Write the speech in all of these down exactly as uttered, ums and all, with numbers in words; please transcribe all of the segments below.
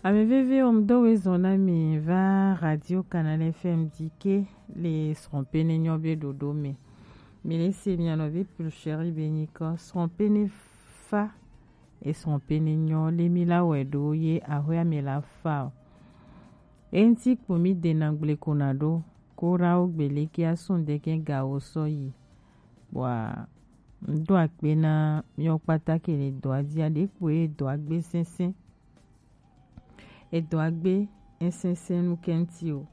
Ame veviwo, ŋdo we zɔn na mi va Radio Canal F M dike le srɔ̃ pene nyɔ be ɖoɖo me. Mi le se mia nɔ be plus chéri be nyikɔ srɔ̃ pene fa e srɔ̃ pene nyɔ le mi la wɛ ɖo ye ahwe ame la fa o. Enti kpo mi de na gble ko na ɖo ko ra wo gbe le ke asun de ke ga wo sɔ yi. Bwa ŋdo akpe na miɔ kpata ke le dɔ a dzi a ɖe kpo ye dɔ a gbe sɛnsɛn. Edɔ agbe esɛsɛ nu kɛnti o.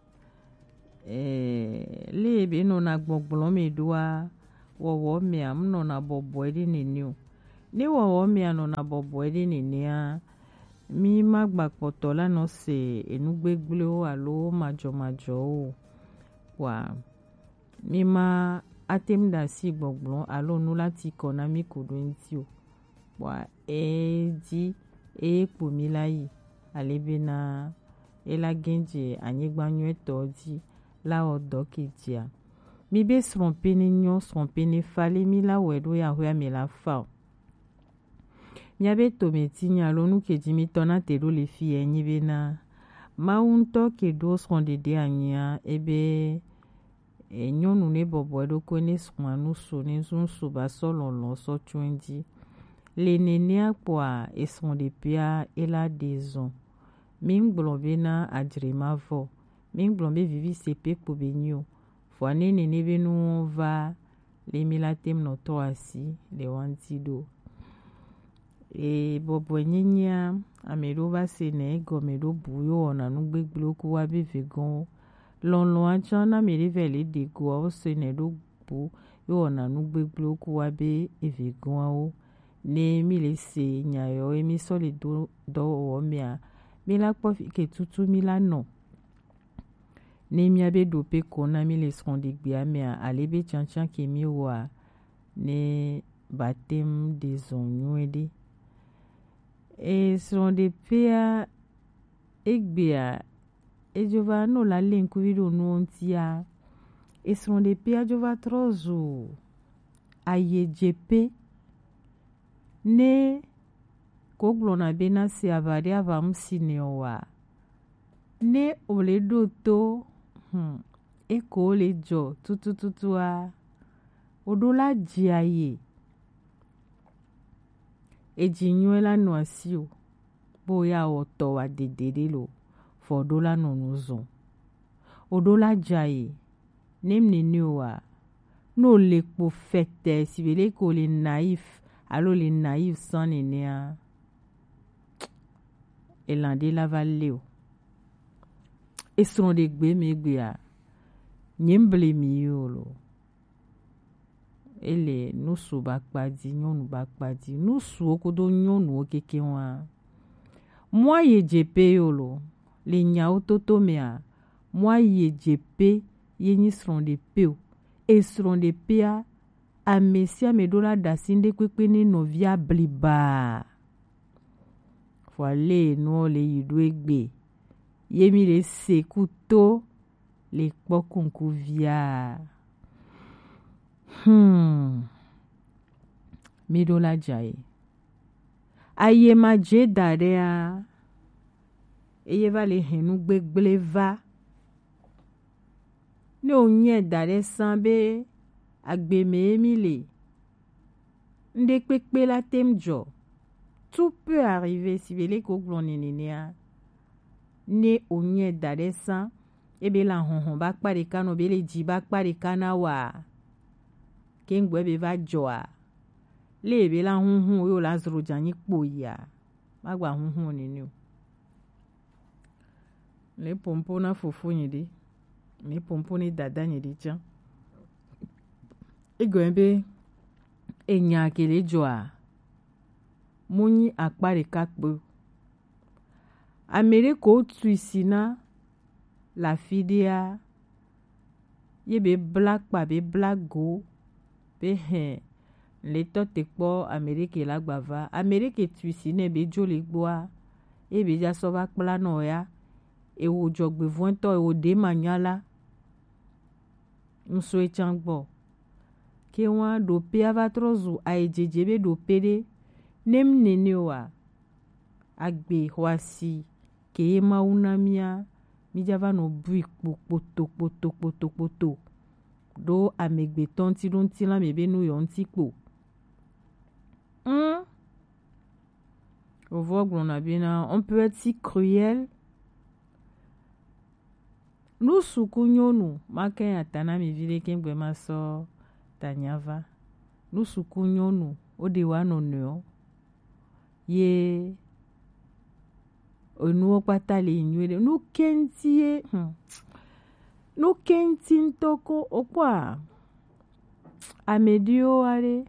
Ɛɛ, le ebe nɔna gbɔgblɔ me ɖoa, wɔwɔ mea, m nɔna bɔbɔe ɖe nene o. Ne wɔwɔ mea nɔna bɔbɔe ɖe nenea, mi ma gba kpɔtɔ la nɔ se enu gbegblẽwo alo majɔmajɔwo o. Wa mi ma ate ŋu ɖe asi gbɔgblɔ alo nu la ti kɔ na mi ko ɖo ŋuti o. Bwa edi eye kpo mi la yi ale bena ela gɛ̃ dze anyigba nyuitɔ dzi la wɔ dɔ ke dzia. Mi be srɔ̃ pene nyɔ, srɔ̃ pene fa le mi la wɛ ɖo ya hwɛ ame la fa o. Mia be tome ti nya lo nu ke dzi mi tɔ na te ɖo le fi enyi bena Mawu ŋutɔ ke ɖo srɔ̃ɖeɖe anyia ebe e nyɔnu ne bɔbɔ eɖokui ne srɔ̃a nusu ne nusu ba sɔ lɔlɔ sɔ tso edzi. Le nenea kpɔa esrɔ̃ɖeƒea ela ɖe zɔn. Mi ŋgblɔ bena adzre ma vɔ. Mi ŋgblɔ be vivi se pe kpo be nyi o. Vɔa ne nene be nuwo va le mi la tem nɔ tɔ asi le wa ŋuti ɖo. E bɔbɔe nyenyea, ame ɖewo va se nɛ egɔme ɖo bu yo wɔna nu gbegblẽwo ku wa be vegɔnwo. Lɔlɔ̃a tsã na ame ɖe vɛ le ɖe goa wo se nɛ ɖo bu yo wɔna nu gbegblẽwo ku wa be evegɔnwo. Ne mi le se nya yɔ ye mi sɔ le do dɔwɔwɔ mea, mi la kpɔ fi ke tutu mi la nɔ. Ne mia be ɖo pe ko na mi le srɔ̃ɖegbea mea, ale be tsantsan ke mi wɔa, ne batem ɖe zɔn nyuie ɖe. E srɔ̃ɖeƒea egbea edzo va no la le ŋkuvi ɖo nuwo ŋutia. E srɔ̃ɖeƒea dzo va trɔ zu ayedzeƒe. Ne ko gblɔna be na se aʋa ɖe aʋa ŋu si nɛ o wa, ne o le ɖo to hmm, eko le dzɔ tutututua, o ɖo la dze aye. Edzi nyuie la nɔ asi o, bo ya wɔ tɔ wa dede ɖe lo, vɔ o ɖo la nɔ nu zɔn. O ɖo la dze aye. Ne m nene o wa, ne o le kpo fɛtɛ si be leke o le naïf alo le naïf sans nenea, elan ɖe la va le o. Esrɔ̃ ɖe gbe me gbea, nye m ble mi yi o lo. Ele nusu ba kpa di, nyɔnu ba kpa di, nusuwo kodo nyɔnuwo keke wa. Mɔ aye dze pe yo lo, le nyawo toto mea, mɔ aye dze pe ye nyi srɔ̃ɖepe o. Esrɔ̃ɖepea, ame sia ame ɖo la ɖe asi ŋɖekpekpe ne nɔvia bliba. Vɔa le nuwo le yi ɖo egbe ye mi le se ku to le kpɔ kunkuvia. Hmm. Mi ɖo la dza ye. Aye ma dze da ɖea, eye va le hɛn nu gbegblẽ va. Ne wònyae da ɖe sã be agbe mee mí le, ŋɖekpekpe la tem dzɔ. Tout peut arriver, si be leke wogblɔ nɛ nenea. Ne wònyae da ɖe sã, ebe la hɔhɔ ba kpa ɖeka nɔ be le dzi ba kpa ɖeka na wa, ke ŋgbɔ ebe va dzɔa, le ebe la huhu yo la zro dza nyi kpo yia, magba huhu nene o. Le pompo na fofo nye ɖe, le pompo ne dada nye ɖe tsã. Egɔme be enya ke le dzɔa, mu nyi akpa ɖeka kpe o. Ame ɖe ko tui si na le afi ɖea, ye be bla kpa be bla go be hɛ le tɔ te kpɔ ame ɖe ke la gba va, ame ɖe ke tui si nɛ be dzo le gbɔa, ye be dza sɔ va kpla nɔ ya, ewo dzɔgbevɔ̃tɔ, ewo ɖe ma nya la, ŋsɔe tsã gbɔ. Ke wa ɖo pe ava trɔ zu ayi dzedze be ɖo pe ɖe, ne m nene wa, agbe xɔasi ke ye Mawu na mía, mí ja va nɔ bui kpo kpoto kpoto kpoto kpoto ɖo amegbetɔ ŋuti ɖo ŋutilã mɛ be nu yɔ ŋuti kpo. Hum. Vɔvɔ gblɔna bena, on peut être si cruel. Nu suku nyɔnu, ma ke ata na mi vi ɖe ke gbe ma sɔ tanya va. Nu suku nyɔnu, wo ɖe wa nɔnɔewo. Ye enuwo kpata le nyuie ɖe. Nu kɛnti ye, hmm. Nu kɛnti ŋutɔ ko, okpɔa, ame ɖewo wa ɖe.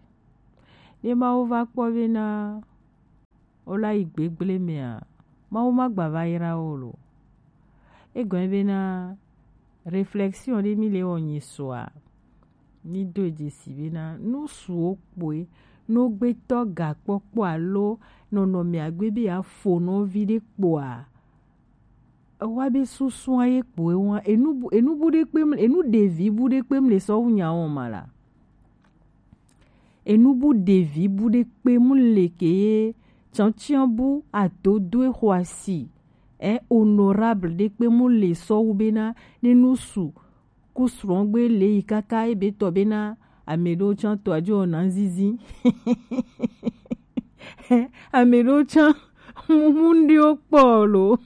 Ne Mawu va kpɔ bena wo la yi gbegble mea, Mawu ma gba va yra wo lo. Egɔme bena réflexion ɖe mi le wɔ nyi sɔa, mi do dzesi bena nu suwo kpoe, no gbetɔ gakpɔkpɔ alo nɔnɔme agbe be ya fo nɔvi ɖe kpoa, ewa be susua ye kpoe wa, enu bu, enu bu ɖe kpem, enu ɖevi bu ɖe kpem le sɔ wu nya wɔn ma la. Enu bu ɖevi bu ɖe kpe mu le ke ye tsantsan bu adodoe xɔ asi. E honorable ɖe kpe mu le sɔ wu bena ne nu su ku srɔ̃gbe le yi kaka ebe tɔ bena ame ɖewo tsã tɔ adzo na zizi. Ame ɖewo tsã mumu ɖewo kpɔ lo.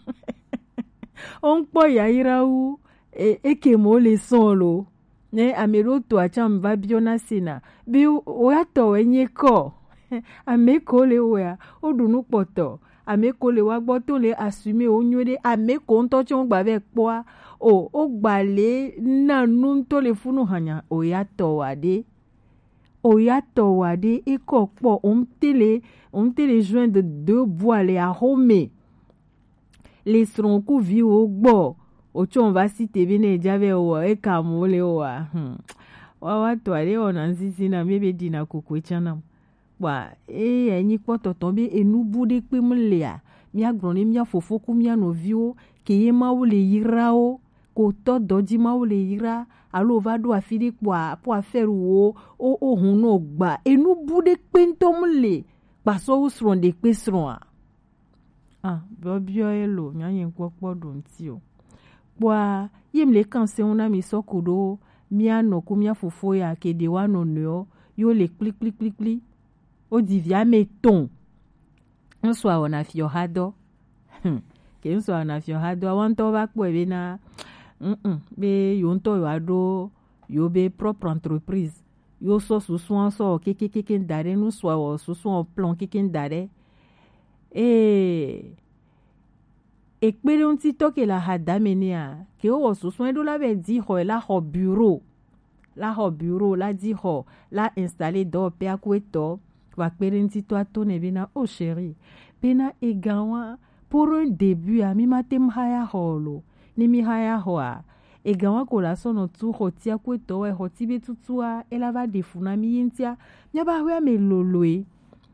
Wo ŋkpɔ yayra wu e, eke mo le sɔn lo. Ne ame ɖewo to atsam va biɔ na sena be o ya tɔ wɛ nye kɔ. Ame ko le wɛa, o ɖu nu kpɔtɔ. Ame ko le wa gbɔ to le assume wo nyuie ɖe. Ame ko ŋutɔ tsɛ wo gba vɛ kpɔa. O, o gba le na nu ŋutɔ le funu hanya o ya tɔ wa ɖe. O ya tɔ wa ɖe, e kɔ kpɔ, o ŋte le, o ŋte le joindre deux bras le axome. Le srɔ̃ ku viwo gbɔ, o tsɔ va si te be ne e ja vɛ wɔ, e ka mo le wɔ a. Hmm. Wa, wa tɔ aɖe wɔ na ŋzizi na mi be ɖi na koko e tsã na. Kpɔa, eya nyi kpɔtɔtɔ be enu bu ɖe kpe mu lea, mía gblɔ ne mía fofo ku mía nɔviwo, ke ye Mawu le yra wo, ko tɔ dɔ ji Mawu le yra, alo va ɖo afi ɖe kpɔa, po affaire wo, o, o hun nɔ gba. Enu bu ɖe kpe ŋutɔ mu le, kpasɔ wu srɔ̃ ɖe kpe srɔ̃a. Ah, biɔbiɔ ye lo, mía nyi kpɔkpɔ ɖo ŋti o. Kpɔa, ye mle kan se ŋu na mi sɔ ku ɖo, mía nɔ ku mía fofo ya ke ɖe wa nɔ nɔewo, yo le kpli kpli kpli kpli. O di via me tɔn. Ŋsɔ awɔ na fiɔ ha dɔ. Hmm. Ke ŋsɔ awɔ na fiɔ ha dɔ. Awa ŋutɔ va kpɔe be na, mm, mm, be yo ŋutɔ yo aɖo yo be propre entreprise. Yo sɔ susua sɔ kekekeke da ɖe, nu sɔ awɔ susua plan keke da ɖe. Ee, ekpe ɖe ŋutitɔ ke le ahadame nɛa, ke wowɔ susue ɖo la be di xɔ la xɔ bureau, la xɔ bureau, la di xɔ, la installer dɔwɔƒea ku etɔ, wa kpe ɖe ŋutitɔ ato nɛ bena, oh chérie, bena egan wa, pour un début a, mi ma te ŋu haya xɔ o lo, ne mi haya xɔa, egan wa ko la sɔ nɔ tu xɔtia ku etɔ wɛ xɔti be tutua, e la va ɖe fu na mi ye ŋutia, mía ba hɔe ame loloe.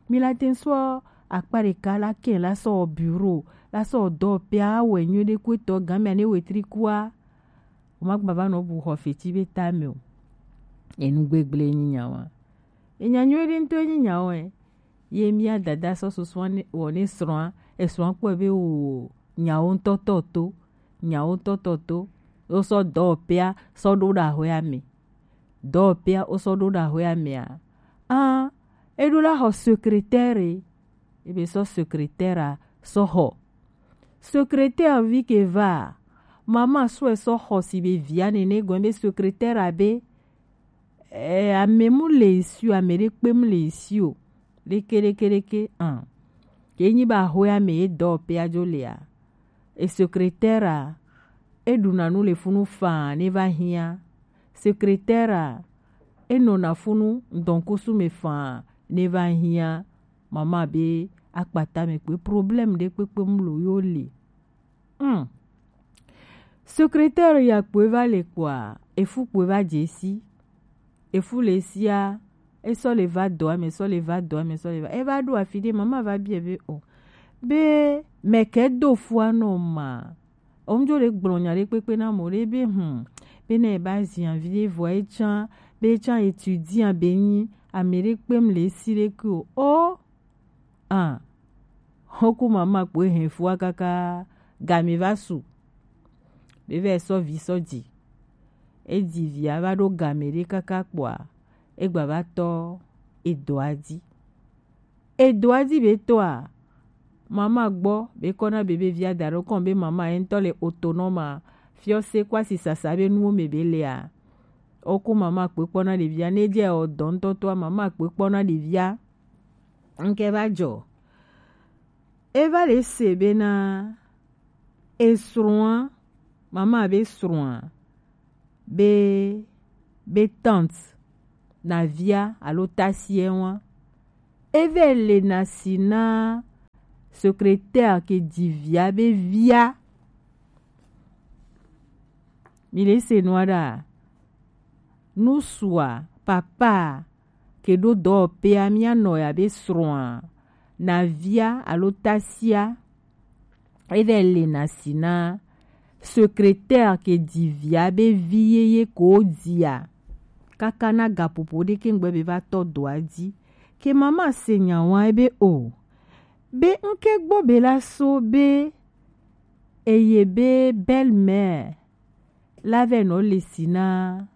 Mi la te ŋu sɔ akpa ɖeka la kɛ la sɔ bureau, la sɔ dɔwɔƒea wɛ nyuie ɖe ku etɔ gan mea ne wetri kua. O ma gba va nɔ bu xɔ feti be ta me o. Enu gbegble nyi nya wa. Enya nyuie ɖe ŋutɔ nyi nya wa. Ye mía dada sɔ susua ne, wɔ ne srɔ̃a, esrɔ̃a kpɔe be o nyawo ŋutɔ tɔ to, nyawo ŋutɔ tɔ to. Wo sɔ dɔwɔƒea sɔ ɖo ɖe ahɔea me. Dɔwɔƒea wo sɔ ɖo ɖe ahɔea mea, ah, e ɖo la xɔ secrétaire, e be sɔ secrétaire a sɔ xɔ. Secrétaire vi ke va, mama sɔe sɔ xɔ si be via nene gɔn be secrétaire a be, eh, ame mu le esi o, ame ɖe kpe mu le esi o. Ɖeke, ɖeke, ɖeke, ah. Ke nyi ba xɔea me ye dɔwɔƒea dzo lea. E secrétaire a, e ɖuna nu le funu faa ne va hiã. Secrétaire a, e nɔna funu ŋdɔkusu me faa ne va hiã. Mama be akpata me kpe problème ɖe kpekpe mu lo yo le. Hmm. Secrétaire ya kpoe va le kpoa, efu kpoe va dze si. Efu le sia, e sɔ le va dɔa me, sɔ le va dɔa me, sɔ le va. E va ɖo afi ɖe, mama va biɛ be o. Be mɛkɛ do fua nɔ ma. O ŋdzo le gblɔ nya ɖe kpekpe na mɔ ɖe be hmm. Be ne e ba zi avi ɖe vɔa e tsã, be e tsã étudiant be nyi, ame ɖe kpem le esi ɖe ke o. O. Ah. Xoku mama kpoe hɛn fua kaka Game va su. Be vɛ sɔ vi sɔ ji. E ji via va ɖo game ɖe kaka kpoa, e gba va tɔ edoa ji. Edoa ji be tɔa, mama gbɔ be kɔ na be be via da ɖo kɔn be mama ye ŋutɔ le autonome a, fiɔ se kɔ asi sasa be nuwo me be lea. Oko mama kpe kpɔ na ɖevia, ne dze o dɔ ŋutɔ tɔa, mama kpe kpɔ na ɖevia. Ŋke va jɔ. E va le se bena esrɔ̃a, mama be srɔ̃a, be, be tante, navia alo tasiɛ wa, e vɛ le na si na secrétaire ke ji via be via. Mi le se nua ɖa? Nusua, papa, ke ɖo dɔwɔƒea, mía nɔ ya be srɔ̃a, navia alo tasia, e vɛ le na si na secrétaire ke ji via be vi yeye ko dia. Kaka na gaƒoƒo ɖe ke ŋgbe be va tɔ doa ji. Ke mama se nya wa be o. Be ŋke gbɔ be la so be eye be belle-mère la vɛ nɔ le si na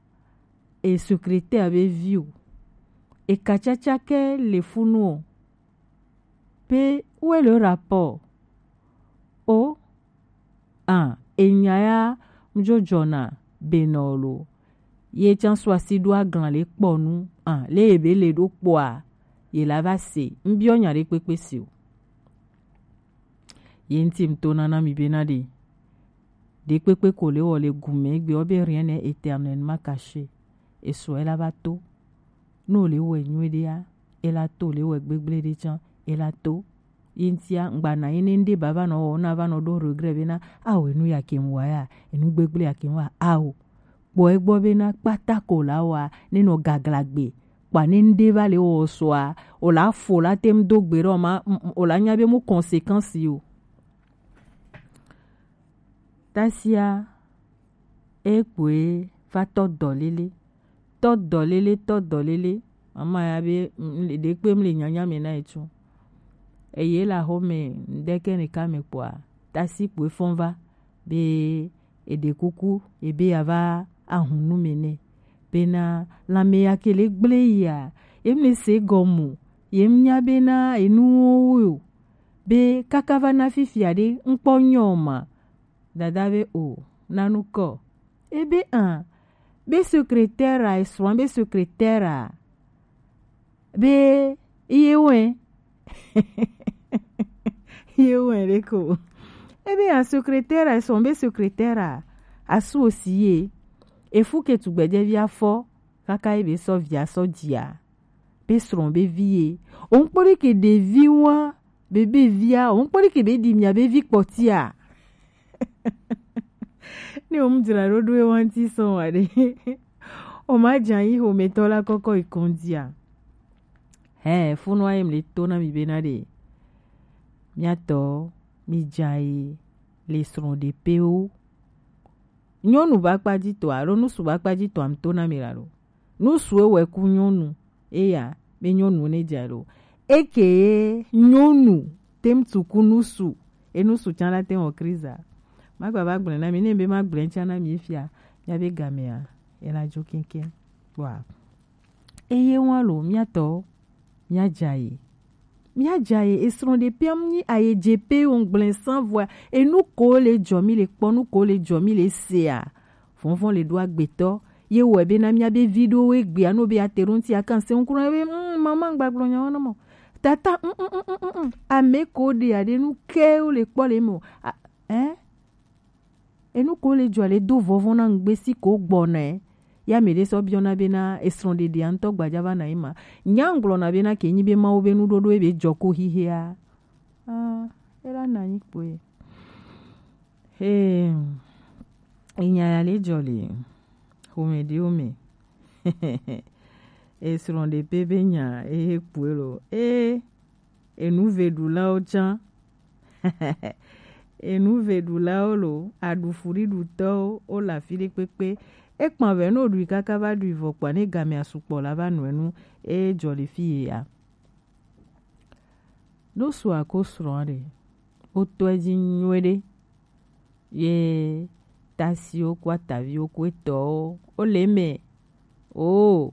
e secrétaire be vi o. E ka caca ke le funu o. Pe, où est le rapport? O, ah, enya ya ŋdzo dzɔna benɔ lo. Ye can sɔ asi ɖo aglan le kpɔ nu, ah, le ebe le ɖo kpɔa, ye la va se. Ŋbiɔ nya ɖe kpekpe si o. Ye ŋti ŋto nana mi bena ɖe. Ɖe kpekpe ko le wɔ le gume egbe wɔ be rien n'est éternellement caché. Esɔ ela va to. Ne wòle wɔe nyuie ɖea, ela to, wòle wɔe gbegblẽ ɖe tsã, ela to. Ye ŋutia, ŋgba na ye ne ŋɖe ba va nɔ wɔ, na va nɔ ɖo regret bena, ao, enu ya ke ŋwa ya, enu gbegblẽ ya ke ŋwa, ao. Kpɔ egbɔ bena kpata ko la wa, ne nɔ gagla gbe, kpa ne ŋɖe va le wɔ sɔa, o la fo la tem do gbe ɖe o ma, m-, m-, o la nya be mu conséquence yo. Tasia, e kpoe va tɔ dɔ lele. Tɔ dɔ lele, tɔ dɔ lele. Mama ya be, m-, m-, ɖe kpe mle nyanya me na etsu. Eye la xɔ me, ŋɖe ke ne ka me kpoa, tasi kpoe fɔn va. Be, eɖe kuku, ebe ya va ahun nu me nɛ. Bena, lãme ya ke le gblẽ yia, ye mle se gɔmu, ye mnya bena, enuwo wo yo. Be, kaka va na fifia ɖe, ŋkpɔ nyɔ ma. Dada be o, nanu kɔ. Ebe an, be secrétaire a, esrɔ̃ be secrétaire a. Be, iye wɛ. Iye wɛ ɖe ko. Ebe an secrétaire a, esrɔ̃ be secrétaire a. Asu osi ye. Efu ke tugbɛjɛvi afɔ, kaka ebe sɔ via sɔ jia. Be srɔ̃ be vi ye. O ŋkpɔ ɖe ke ɖevi wa, be be via, o ŋkpɔ ɖe ke be ɖi mia be vi kpɔtia. Ne o mu dzra ɖo ɖo ewa ŋti sɔn wa ɖe. O ma dza yi xometɔ la kɔkɔ yi kɔndia. Hɛ, funua ye mle to na mi bena ɖe. Miatɔ, mi dza yi le srɔ̃ɖeƒewo. Nyɔnu ba kpa ji tɔ, alo nusu ba kpa ji tɔ, am to na mi la lo. Nusu ewɛ ku nyɔnu, eya, be nyɔnu ne dza lo. Eke ye nyɔnu tem tuku nusu, e nusu can la tem wɔ kriza. Ma gba ba gblẽ na mi, ne be ma gblẽ can na mi fia, mia be gamea, e la dzo kɛkɛ. Wa. Eye wa lo, miatɔ, mia dza ye. Mia dza ye, esrɔ̃ɖeƒea mu nyi aye dze pe wo ŋgblẽ san vɔa, enu ko le dzɔ mi le kpɔ, nu ko le dzɔ mi le sea. Vɔvɔ̃ le ɖo agbetɔ, ye wɔe bena mia be vi ɖewo egbea, no be ate ɖo ŋti akan se ŋku na be, mm, mama ŋgba gblɔ nya wo na mo. Tata, mm, mm, mm, mm, mm, mm. Ame ko ɖe aɖe nu ke wo le kpɔ le me o. A, eh? Enu ko le dzɔ le do vɔvɔ̃ na ŋgbe si ko gbɔnɛ. Ya me ɖe sɔ biɔna bena esrɔ̃ɖeɖea ŋutɔ gbadza va na yi ma. Nya ŋgblɔna bena ke nyi be Mawu be nuɖoɖo ebe dzɔ ko xixea. Ah, ela na nyi kpoe. Hey, enya ya le dzɔ le. Xome ɖewo me. Esrɔ̃ɖeƒe be nya, ehe kpoe lo. Eh, enuveɖulawo tsã. Enuveɖulawo lo, aɖufuɖiɖutɔwo, wo le afi ɖe kpekpe. Ekpa vɛ ne woɖui kaka va ɖui vɔ kpɔa, ne gamea sukpɔ la va nɔe nu, eye dzɔ le fi ye ya. Ɖo sua ko srɔ̃a ɖe, wotɔe dzi nyuie ɖe. ye tasiwo ku ataviwo ku etɔwo, wo le eme. O,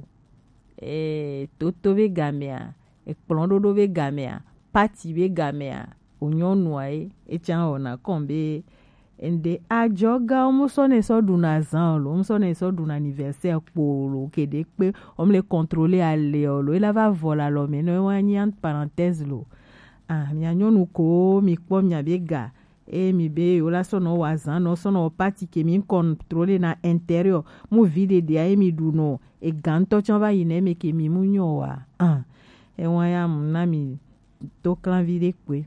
e, toto be gamea, ekplɔ̃ɖoɖo be gamea, pati be gamea, o nyɔnua ye, etsa wɔna kɔn be ende ajɔgawo mu sɔ ne sɔ ɖuna zan o lo, mu sɔ ne sɔ ɖuna anniversaire kpo o lo, ke ɖe kpe, o mu le contrôler ale o lo, ela va vɔ le alɔ me nɔ, ewa nyi entre parenthèse lo. Ah, mia nyɔnu ko mi kpɔ mia be ga, e mi be yo la sɔ nɔ wa zan nɔ sɔ nɔ pati ke mi contrôler na intérieur, mu vi ɖeɖe a ye mi ɖu nɔ, e gan tɔ tsɔ va yi nɛ me ke mi mu nyɔ wa. Ah, ewa ya mu na mi to klan vi ɖe kpe.